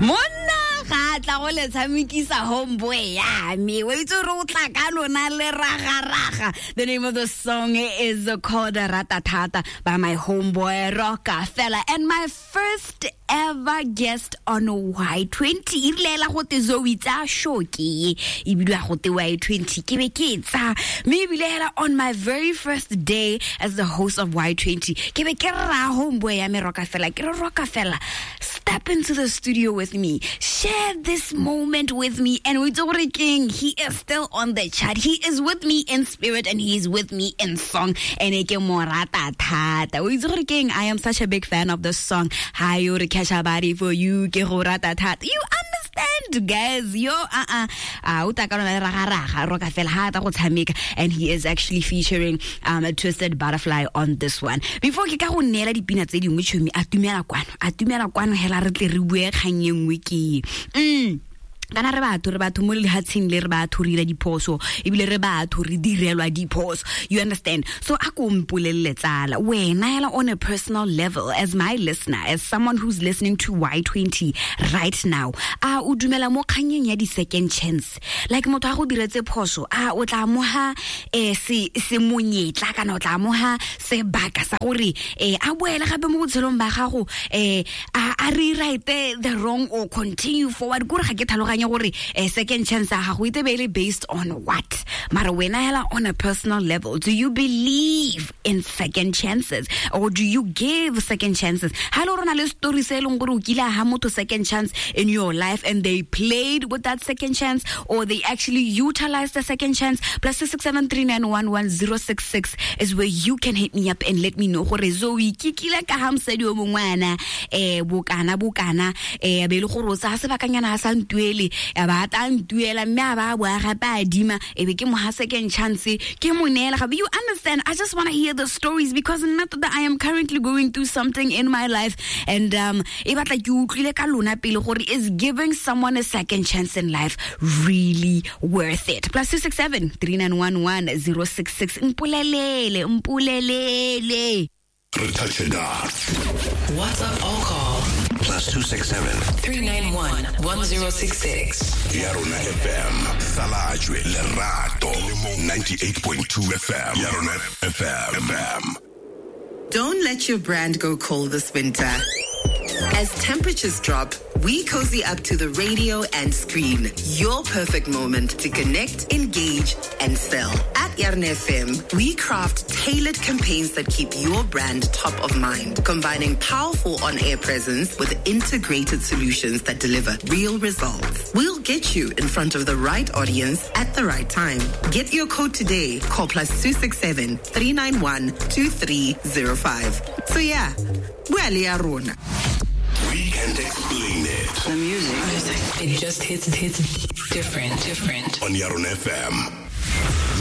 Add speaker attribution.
Speaker 1: Monna ga a tla go le tshamekisa homeboy ya me. O itse gore o tla ka lona le raga-raga. The name of the song is called Ratatata by my homeboy Rockefeller, and my first ever guest on Y20. E rile la go te Zoe tsa show ke e ebile go te Y20 ke be ke tsa mme ebile hela on my very first day as the host of Y20 ke be ke ra homeboy ya me Rockefeller, ke re Rockefeller, step into the studio with me, share this moment with me. And we gore king, he is still on the chat, he is with me in spirit and he is with me in song, and ke mo rata thata. O itse gore keng, I am such a big fan of this song. Ha yo re catch a body for you, ke go rata thata. You understand, guys? Yo, o tla ka lona le raga-raga Rockefeller ha ta go tshameka, and he is actually featuring a Twisted Butterfly on this one. Before ke ka go neela dipina tse dingwe, tšhomi, a tumela kwano, a tumela kwano hela re tle re bue kgang e nngwe ke kana re batho mo lehatsheng le, re batho re dira diphoso, ebile re batho re direlwa diphoso, you understand? So a ko mpolelele tsala, wena hela on a personal level, as my listener, as someone who's listening to Y20 right now, a o dumela mo kganyeng ya di-second chance? Like motho a go diretse phoso, a o tla amoga se monyetla kana o tla amoga sebaka sa gore a boele gape mo botshelong ba gago, a rewrite the wrong or continue forward? Kore ga ke tlhaloganye gore second chance ya gago e tebe e le based on what. Mara wena hela on a personal level, do you believe in second chances or do you give second chances? Ha le rona le story se e leng gore o kile ha motho second chance in your life and they played with that second chance or they actually utilized the second chance, +267 391 1066 is where you can hit me up and let me know gore Zoe ke kile ka ha mosadi o mongwana bokana bokana, be le gore o tsaya sebakanyana a sa ntuele, ba tla ntuela mme a ba boa gape a adima, e be ke mo ha second chance, ke mo neela gape. You understand? I just want to hear the stories because not that I am currently going through something in my life, and e batla ke utlwile ka lona pele gore is giving someone a second chance in life really worth it? +267 3911 066. Mpolelele, mpolelele.
Speaker 2: Re touch it up.
Speaker 3: WhatsApp or call
Speaker 2: +267
Speaker 3: 391 1066.
Speaker 2: Yarona FM, Salajwe, Lerato, 98.2 FM. Yarona FM.
Speaker 4: Don't let your brand go cold this winter. As temperatures drop, we cozy up to the radio and screen. Your perfect moment to connect, engage, and sell. At Yarona FM, we craft tailored campaigns that keep your brand top of mind, combining powerful on-air presence with integrated solutions that deliver real results. We'll get you in front of the right audience at the right time. Get your quote today. Call +267 391 2305. So yeah, we're Yarona.
Speaker 2: We can't explain it.
Speaker 3: The music. It just hits different.
Speaker 2: On Yarona FM.